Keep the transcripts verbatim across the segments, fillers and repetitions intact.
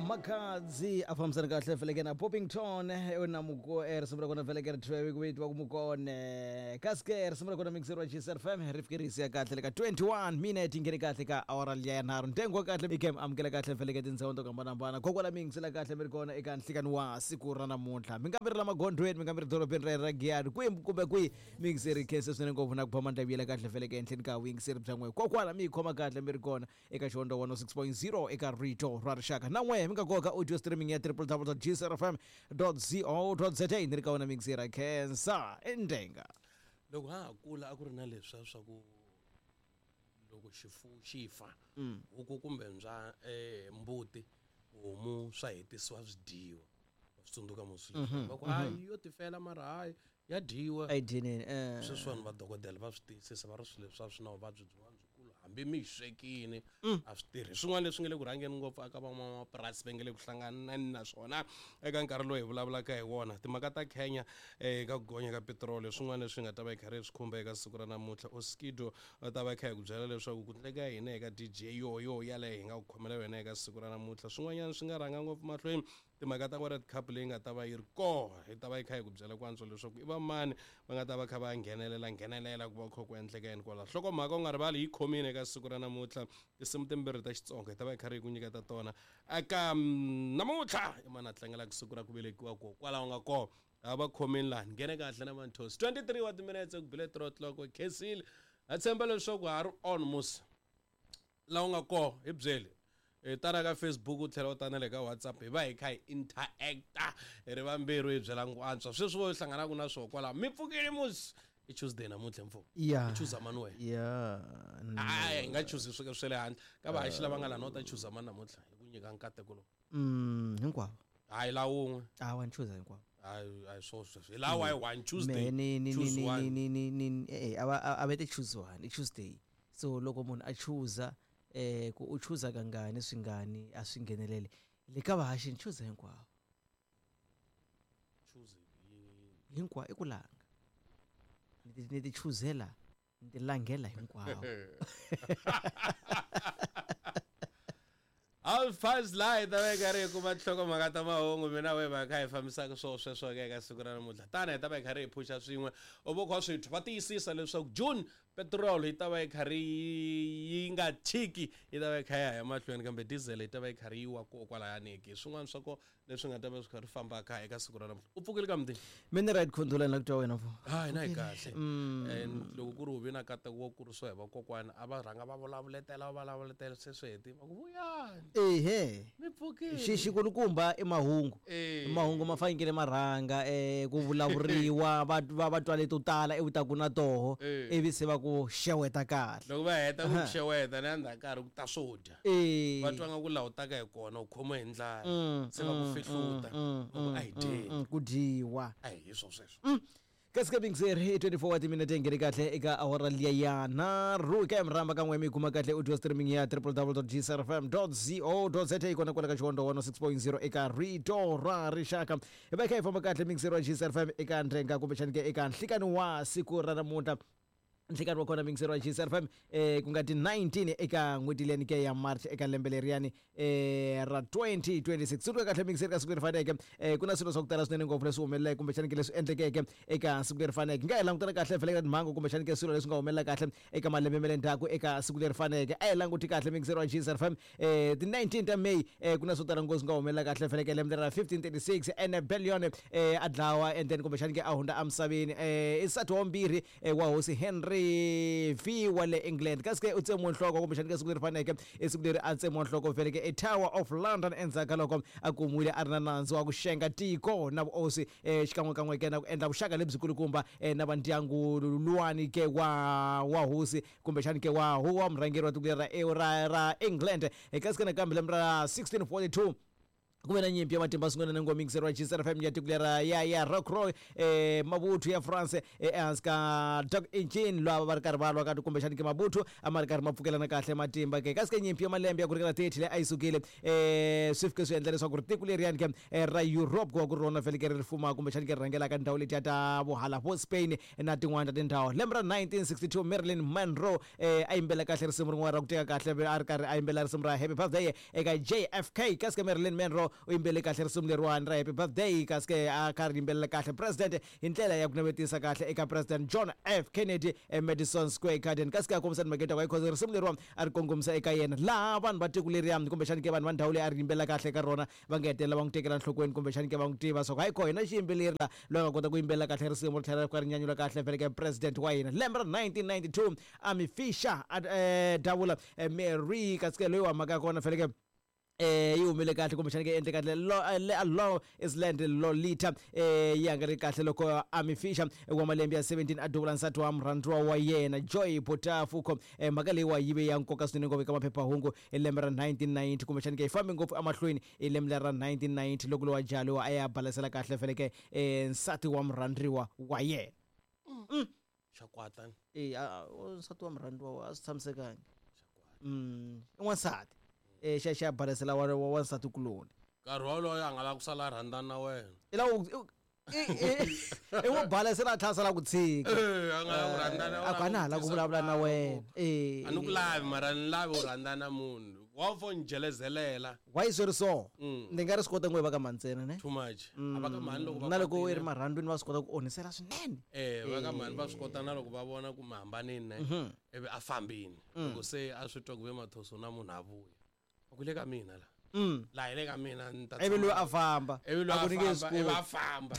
Makhadzi a fambisana kahle feleke na Poppington na muko risimu ra kona feleke ri thyiwe ku vitiwa ku mukone kasi ke risimu ra kona mixer wa G S F M ri fike ri siya kahle le ka twenty-one minute yi nghene kahle ka awara liya ya nharhu. Ntengo wa kahle i game amukela kahle feleke tindhawu to hambanahambana kokwala mi yingisela kahle mi ri kona eka nhlikani wa siku ra namuntlha, mi nga mi ri la magondzweni, mi nga mi ri dorobeni ra ra Giyani, kwihi kumbe kwihi, mi yingiseri khense swinene ngopfu na ku ba mandla vuyela kahle feleke enhleni ka vuyingiseri bya n'we kokwala mi yi khoma kahle mi ri kona eka Xihondzo one oh six point zero eka Rito ra Rixaka. Na n'we mi nga koka audio streaming ya w w w dot g c r f m dot co dot za ni ri ka wona mixera khensa endenga. Loko ha ha kula a ku ri na leswiya swa ku loko xifuwo xi fa, huku kumbe mbya, eh, mbuti, homu, swa hetisiwa swi dyiwa. Wa swi tsundzuka musi va ku hayi yo tifela, mara hayi ya dyiwa. A yi dyinini eh. Sweswiwani vadokodela va swi tiyisisa, va ri swilo leswi a swi na vuvabyi byin'wana byikulu hambi mi yi swekini a swi tirhi. Swin'wana leswi nga le ku rhangeni ngopfu aka van'wamapurasi va nge le ku hlanganani na swona eka nkarhi lowu hi vulavulaka hi wona, timhaka ta Kenya eka ku gonya ka petiroli, swin'wana leswi nga ta va hi karhi hi swi khumba eka siku ra namuntlha. Oskido va ta va kha hi ku byela leswaku ku ndleka yini eka D J yoyo yaleyo hi nga ku khomela yona eka siku ra namuntlha. Swin'wanyana swi nga rhanga ngopfu mahlweni, timhaka ta World Cup leyi nga ta va yi ri kona, hi ta va yi kha hi ku byela ku antswa leswaku i va mani va nga ta va kha va nghenelela nghenelela ku va kha ku endleka yini kwala. Nhlokomhaka u nga rivali yi khomile eka siku ra namuntlha, tinsimu timbirhi ta Xitsonga hi ta va hi karhi hi ku nyiketa tona eka mm, namuntlha. I mani a tlangelaka siku ra ku velekiwa ko kwalaho nga kona a va khomini laha nghene kahle na Manthosi twenty-three wa timinetse ku bile three o'clock. Khensile, ha tshemba leswaku ha ri on musi laha u nga kona. Hi byeli hi tana ka Facebook, u tlhela u tana le ka WhatsApp, hi va hi kha hi interacta hi ri vambirhi, hi byela ku antswa sweswi vo hi hlanganaka na swoho kwalaho. Mi pfukile musi? I Tuesday namuntlha, mfo. Ya. I chuza mani wena? Ya. Hayi, hi nga chuzi swilo swa le handle ka vahaxi lava nga lana. U ta chuza mani namuntlha hi ku nyika nkateko lowu? mm hinkwavo. Hayi, la wun'we. Hawa, ni chuza hinkwavo. Hayi, hayi, swo sweswo hi lawa hi one Tuesday. Me ni ni choose ni one. ni ni ni ni eh a va a va te choose one, i Tuesday, so loko munhu a chuza eh ku u chuza kangani swingani a swi ngheneleli le ka vahaxi, ni chuza hinkwavo. Choose yi- Hinkwavo i ku langa, ni ti ni ti chuzela, ni ti langela hinkwavo. Alphas laha hi ta va hi karhi hi kuma tinhlokomhaka ta mahungu, mina we va kha hi fambisaka swo sweswo ke eka siku ra namuntlha. Tana hi ta va hi karhi hi phuxa swin'we u vo kha swi twa va tiyisisa leswaku June petrol yi ta va yi karhi yi nga chiki, yi ta va yi kha ya ya mahlweni, kambe diesel yi ta va yi karhi yi wa ko kwalayani. Swin'wana swa ko leswi nga ta va swi karhi fambaka eka siku ra namuntlha. U pfukile ka mutini? Mina right, khondolani la ku twa wena fo. Hayi, na hi kahle. And loko ku ri u vi na nkateko wo kurisiwa hi vakokwana, a va rhanga va vulavuletela, va vulavuletela, se swi heti va ku vuyani. Ehe. Mi pfukile? Xi xikulukumba i mahungu. Eh. Mahungu ma fanekele ma rhanga eh ku vulavuriwa, va va va twa leto tala ivi ta ku na toho. Eh. Ivi se va ku xeweta kahle. Loko va heta ku xeweta na endzhaku karhi ku ta swo dya. Eh. Va twa nga ku laha u taka hi kona u khomiwe hi ndlala, Mm, se va ku mm, fihluta, mm, va ku a hi dyeni. mm, ku dyiwa. A hi swo sweswo. Kasi ka bingzeri i twenty-four wa timinete yi nghene kahle eka awara liya ya nharhu. Ka mi rhamba kan'we mi yi kuma kahle audio streaming ya w w w dot g c r f m dot co dot za kona kwala ka Xihondzo one oh six point zero eka Rito ra Rixaka. Hi va hi kha hi famba kahle mixeri wa G C R F M eka ndrenga kumbexani ke eka nhlikani wa siku ra namuntlha. Nhlikani wa kona mixeri wa G C R F M eh ku nga ti nineteen eka n'hweti leyani ke ya March eka lembe leriyani eh ra twenty twenty-six. Tsundzuka kahle mixeri, ka siku leri faneke eh ku na swilo swa ku tala swinene ngopfu leswi humeleleke kumbexani ke leswi endlekeke eka siku leri faneke. Nga hi langutana kahle vhele ka timhangu kumbexani ke swilo leswi nga humelela kahle eka malembe ma le ndzhaku eka siku leri faneke. A hi languti kahle mixeri wa G C R F M, eh ti nineteen ta May eh ku na swo tala ngopfu swi nga humelela kahle vhele ka lembe ra fifteen thirty-six. Anne Boleyn eh a dlawa and then kumbexani ke a hundza emisaveni, eh i nsati wa vumbirhi eh, wa hosi Henry V wa le England. Kasi ke u tsemiwe nhloko kumbexani ka siku leri faneke, i siku leri a tsemiwa nhloko vhele ke eTower of London endzhaku ka loko a kumiwile a ri na nandzu wa ku xenga tiko na vuosi eh, xikan'wekan'we ke na ku endla vuxaka lebyikulukumba eh, na vandyangu luwani ke wa wa hosi kumbexani ke wa wa murhangeri wa tiko leri ra ra ra England. Eh, kasi ke nakambe lembe ra sixteen forty-two Ku ve na nyimpi ya matimba swinene na ngoma yingiseriwa G C F M ya tiko lera ya ya Rocroi eh mavuthu ya France ehansi ka Dark Engine lava va ri karhi va lwa ka kumbexani ke mavuthu a ma ri karhi ma pfukelana kahle matimba ke kasi ke nyimpi ya malembe ya ku ringana thirty leyi a yi sukile eh swi fike swi endla leswaku ri tiko leriyani ke ra Europe ku va ku ri rona vhele ke ri fuma kumbexani ke ri rhangelaka ndhawu letiya ta vohala vo Spain na tin'wana ta tindhawu. Lembe ra nineteen sixty-two Marilyn Monroe eh a yimbela kahle risimu rin'wana ra ku teka kahle a ri karhi a yimbela risimu ra Happy Birthday eka J F K kasi ke Marilyn Monroe u yimbele kahle risimu leriwani ra Happy Birthday kasi ke a kha ri yimbelela kahle president hi ndlela ya ku navetisa kahle eka President John F Kennedy eMadison Square Garden kasi ke a kombisa timhaka ta ku because risimu leriwani a ri kongomisa eka yena laha vanhu va tiko leriyani kumbexani ke vanhu va ndhawu leyi a ri yimbelela kahle eka rona va nga hetelela va n'wi tekela enhlokweni kumbexani ke va n'wi tiva swa ku hayi koho hina xiyimbeleri la loyi a nga kota ku yimbelela kahle risimu ri tlhela ri ka ri nyanyula kahle vhele ke president wa hina. Lembe ra nineteen ninety-two Amy Fisher a davula Mary kasi ke loyi wa mhaka ya kona vhele ke eh yi humile kahle kumbexani ke endle kahle Long Island Lolita eh yi nga ri kahle loko Amy Fisher wa malembe ya seventeen a duvula nsati wa murhandziwa wa yena Joy Botafuko. Eh mhaka leyi wa yi ve ya nkoka swinene ngopfu eka maphephahungu hi lembe ra nineteen ninety kumbexani ke yi fambe ngopfu emahlweni hi lembe ra nineteen ninety loko lowa jalo a ya balasela kahle vhele ke eh nsati wa murhandziwa wa yena. Xakwata eh nsati wa murhandziwa a swi tshamisekangi mm i n'wansati eh xa xa balasela wa wa nsati kuloni nkarhi wolowo a nga la ku sala rhandzana na wena i la i n'wi balasela a tlhela sala ku tshika eh a nga la ku rhandzana a ku a na ha la ku vulavula na wena eh a ni ku lavi mara ni lavi u rhandzana na munhu wa fo ni jelezelela why swi ri so ni nga ri swi kota ngo va ka mhani ntsena ne too much a va ka mhani loko va na loko i ri marhandzwini va swi kota ku onhisela swinene eh va ka mhani va swi kota na loko va vona ku mi hambanini ne ivi a fambini loko se a swi twa ku ve mathoso na munhu a vuya a ku le ka mina la la hi le ka mina ni ta ivi loyi a famba ivi loyi a famba ivi a famba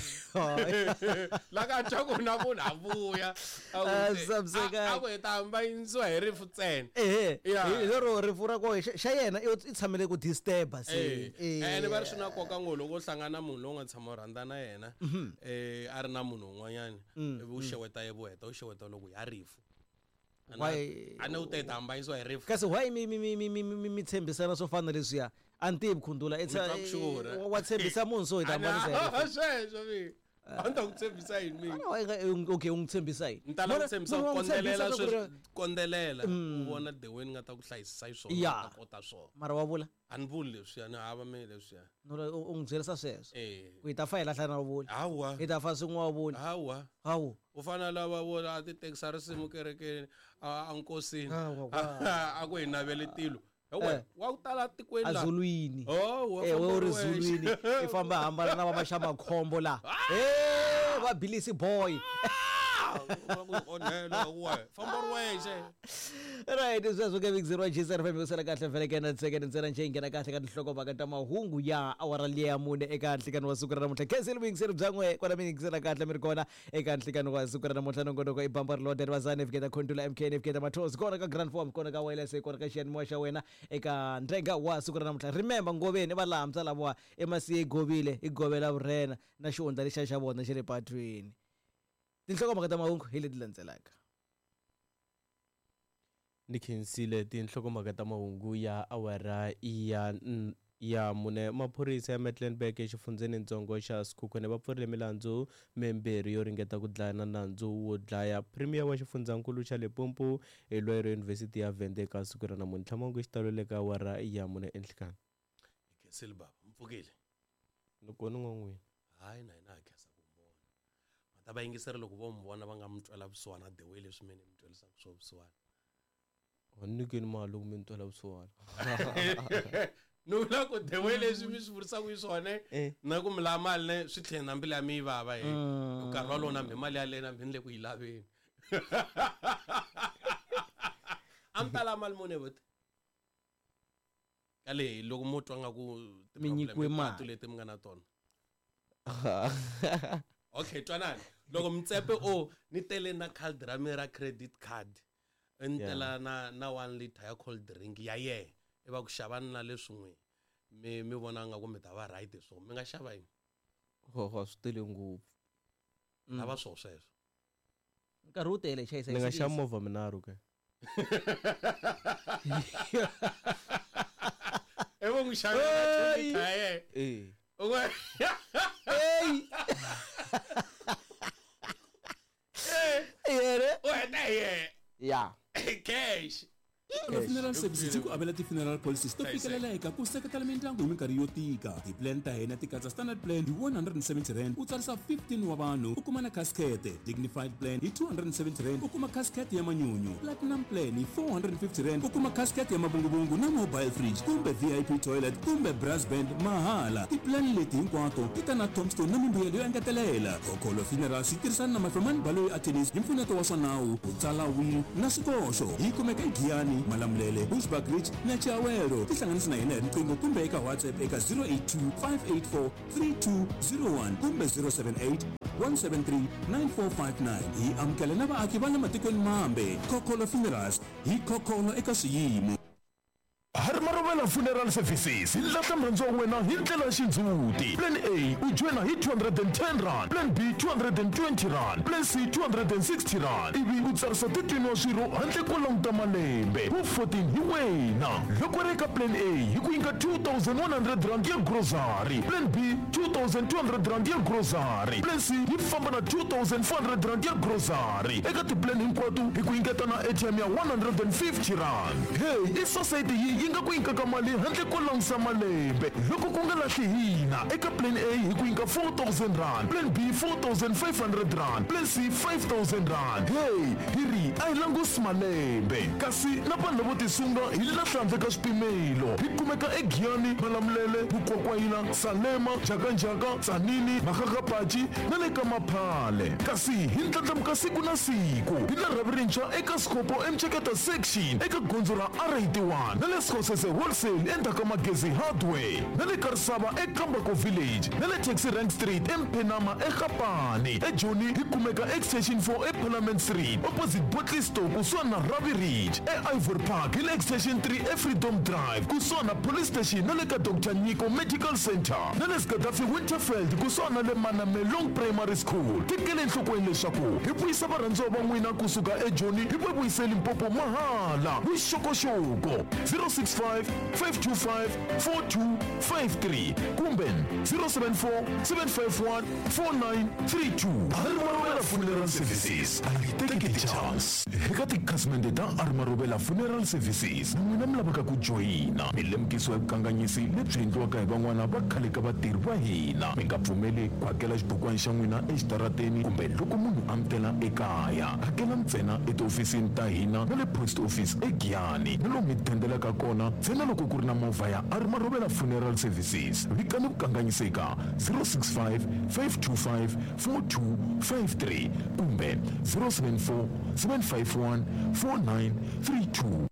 la ka twa ku na munhu a vuya a ku hi ta hambanyisiwa hi rifu ntsena ehe hi lero rifu ra koho xa yena i tshamele ku disturb-a se ene va ri swi na nkoka ngopfu loko u hlangana na munhu lowu nga tshama u rhandza na yena eh a ri na munhu un'wanyana ivi u xeweta ye vuheta u xeweta loko ya rifu why a ni u ta hambanyisiwa hi rifu kasi why mi mi mi mi mi mi tshembisana swo fana leswiya a ni tivi khundula wa tshembisa munhu so hi ta hambanisa hi rifu sweswo mi a ni ta ku tshembisa yini mina okay u n'wi tshembisa yini ni ta lava ku tshembisa ku kondzelela sweswi kondzelela u vona the way ni nga ta ku hlayisisa hi swona ta kota swona mara wa vula a ni vuli leswiya ni hava me leswiya u n'wi byerisa sweswo eh ku hi ta fa hi lahla na vuli hawa hi ta fa swin'we wa vuli hawa hawu u fana lava vo a ti tekisa risimu kerekeni a nkosini a ku hi navele tilo Eh. wa ku tala tikweni la azulwini oh eh we ri zulwini i famba hambana na va maxamakhombo la eh va bilisi boy onhela we famba ri wexe right sweswo ke mixer wa G C F M ku sala kahle vhele ke na second ntsena nje nghena kahle ka tinhlokomhaka ta mahungu ya awara liya mune eka nhlikani wa siku ra namuntlha khensile vuyingiseri bya n'we kwala mi yingisela kahle mi ri kona eka nhlikani wa siku ra namuntlha nongonoko i bamba ri loda ri vazani fiketa khondula M K fiketa mathos kona ka Grand Form kona ka wireless kona ka xiyanimoya xa wena eka ndrenga wa siku ra namuntlha remember ngoveni va laha lavowa emasiye govile i govela vurhena na xihundla lexiya xa vona xa le patwini tinhlokomhaka ta mahungu hi leti landzelaka Ni khensile tinhlokomhaka ta mahungu ya awara ya ya mune maphorisa ya Mecklenburg exifundzhenintsongo xa Sekhukhune va pfurile milandzu mimbirhi yo ringeta ku dlaya na nandzu wo dlaya premier wa xifundzankulu xa Limpopo eLwero University ya Venda eka siku ra namuntlha mahungu xitalo le ka awara ya mune enhlikani khensile baba mpfukile loko ni n'wan'wini hayi na hina ha khensa ku vona mata va yingiseri loko vo mi vona va nga mi twela vusiwana the way leswi mina mi twelisaka swo vusiwana nyikeni mali loko mi ni twela vusiwana ni vula ku the way leswi mi swi vurisaka hi swona na ku mi lava mali ne swi tlhela na mbilu ya mi yi vava he nkarhi walowo na mbi mali yaleyo na mbi ni le ku yi laveni a mi ta lava mali muni buti ka leyi loko mo twa nga ku Mi nyikiwe mali. leti mi nga na tona okay twanani loko mtsepe o ni tele na card ra mi ra credit card ni tela na na one liter ya cold drink ya yehe i va ku xavani na leswin'we mi mi vona nga ku mi ta va right hi swona mi nga xava yini ho swi tele ngopfu lava swo sweswo nkarhi wu tele chayisa ni nga xava movha minharhu ke i U n'wi xavela ya yena. Eh. Ey. Yena. U heta hi yena. Ya. Cash. Funeral services yi ku avela ti-funeral policies to fikeleleka ku seketela mindyangu hi minkarhi yo tika. Ti-plan ta hina ti katsa standard plan hi one hundred and seventy rand u tsarisa fifteen wa vanhu u kuma na casket, dignified plan hi two hundred and seventy rand u kuma casket ya manyunyu, platinum plan hi four hundred and fifty rand u kuma casket ya mavunguvungu na mobile fridge kumbe V I P toilet kumbe brass band mahala. Ti-plan leti hinkwato ti ta na tombstone na mimbuyelo yo engetelela. Khokholo Funerals yi tirhisana na Mafemani Baloyi Attorneys hi mpfuneto wa swa nawu ku tsala will na swikoxo. Yi kumeka eGiyani, Malamulele, Bushbuckridge na Chiawelo. Tihlanganisi na hina hi riqingho kumbe eka WhatsApp eka zero eight two, five eight four, three two zero one kumbe zero seven eight, one seven three, nine four five nine. Hi amukela na vaaki va le matikweni mambe. Khokholo Funerals hi khokholo eka swiyimo. Harimarovela Funeral Services hi lahla murhandziwa wa wena hi ndlela ya xindzhuti. Plan A u joyina hi two hundred and ten rand, Plan B two hundred and twenty rand, Plan C two hundred and sixty rand. Ivi u tsarisa thirteen wa swirho handle ko languta malembe. Wu fourteen hi wena. Loko ri eka Plan A hi ku nyika two thousand one hundred rand ya grocery, Plan B two thousand two hundred rand ya grocery, Plan C yi famba na two thousand four hundred rand ya grocery. Eka ti-plan hinkwato hi ku nyiketa na A T M ya one hundred and fifty rand. Hey, i society yi yi nga ku nyikaka mali handle ko langusa malembe. Loko ku nga lahli hina eka Plan A hi ku nyika four thousand rand, Plan B four thousand five hundred rand, Plan C five thousand rand. Hey, hi ri a hi langusi malembe. Kasi na vanhu lavo tisunga hi lahla handle ka swipimelo. Hi kumeka eGiyani, Malamulele, Vukwakwayila, Salema, Njhakanjhaka, Tzaneen, Makgakgapachi na le ka Maphale. Kasi hi ndlandlamuka siku na siku. Hi na rhavi rintshwa eka Sikopo eMcheketa section eka gondzo ra R eighty-one na le Sekgosese Wholesale endzhaku ka Magezi Hardware na le Karisava eKambako Village na le Taxi Rank Street eMphenama eGapane. eJoni hi kumeka Extension four eParliament Street opposite Botley Store kusuhani na Ravi Ridge. E-Ivory Park hi le Extension three eFreedom Drive kusuhani na Police Station na le ka Doctor Nyiko Medical Center na le Gaddafi Winterfeld kusuhani na le Manamelong Primary School. Tekele enhlokweni leswaku hi vuyisa varhandziwa va n'wina kusuka eJoni hi va vuyise Limpopo mahala. Vuxokoxoko zero six five, five two five, four two five three kumbe zero seven four, seven five one, four nine three two. Harimarovela Funeral Services a yi teki ti-chance. Eka tikhasimende ta Harimarovela Funeral Services na n'wina mi lavaka ku joyina, mi lemukisiwa hi vukanganyisi lebyi endliwaka hi van'wana va khale ka vatirhi va hina. Mi nga pfumeli ku hakela xibukwana xa n'wina exitarateni kumbe loko munhu a mi tela ekaya. Hakela ntsena etihofisini ta hina na le post office eGiyani na lomu mi dendelaka kona ntsena loko ku ri na movha ya Harimarovela Funeral Services. Vikani vukanganyisi eka zero six five, five two five, four two five three kumbe zero seven four, seven five one, four nine three two.